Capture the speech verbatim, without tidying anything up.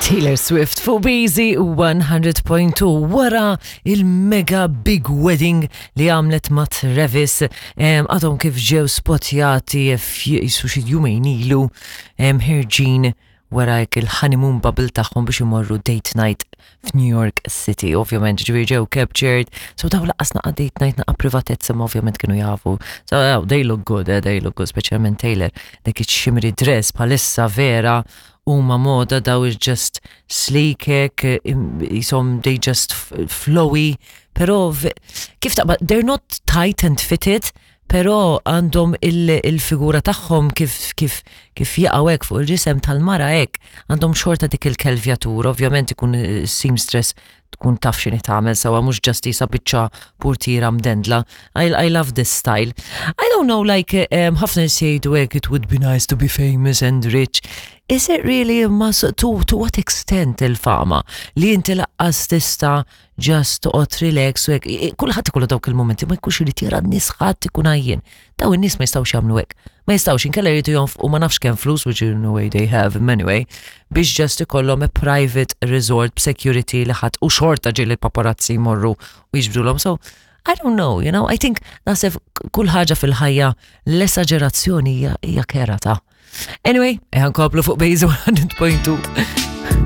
Taylor Swift fuq B Z one hundred point two wara il-mega big wedding li għamlet ma' Travis. Għadhom kif ġew spotjati jisu xi jumejn ilu ħerġin wara il-honeymoon bubble tagħhom biex imorru date night f'New York City. Ovvjament, ġifieri ġew captured. So daw lanqas naqa date night, naqa privatezza, ma ovvjament kienu jafu. So oh, they look good, eh, they look good, speċjalment Taylor. Dik iċ-shimmery dress bħalissa vera huma moda, daw is just sleek hekk, jisom they just flowy, pero kif taqbad, they're not tight and fitted, pero għandhom il-figura tagħhom kif kif kif jaqgħu hekk fuq il-ġisem tal-mara hekk, għandhom xorta dik il-kelvjatur, ovvjament ikun seamstress tkun taf x'inhi tagħmel sewwa, mhux just jisa biċċa purtira mdendla. I, I love this style. I don't know, like um, ħafna jgħidu hekk, it would be nice to be famous and rich. Is it really a must? To, to what extent il-fama? Li inti lanqas tista' just toqgħod relax u hekk. Kulħadd ikollu dawk il-momenti ma jkunx irid jara n-nies, ħadd ikun għajjien. Daw in-nies ma jistgħux jagħmlu hekk. Ma jistgħux, inkella jridu jonfqu ma nafx kemm flus, which in a way they have anyway, biex just ikollhom a private resort b'security li ħadd u xorta ġieli paparazzi jmorru u jiġbdulhom. So I don't know, you know, I think naħseb kull ħaġa fil-ħajja l-esagerazzjoni hija kerha ta'. Anyway, eħan koplu fuq Bejzu one hundred point two.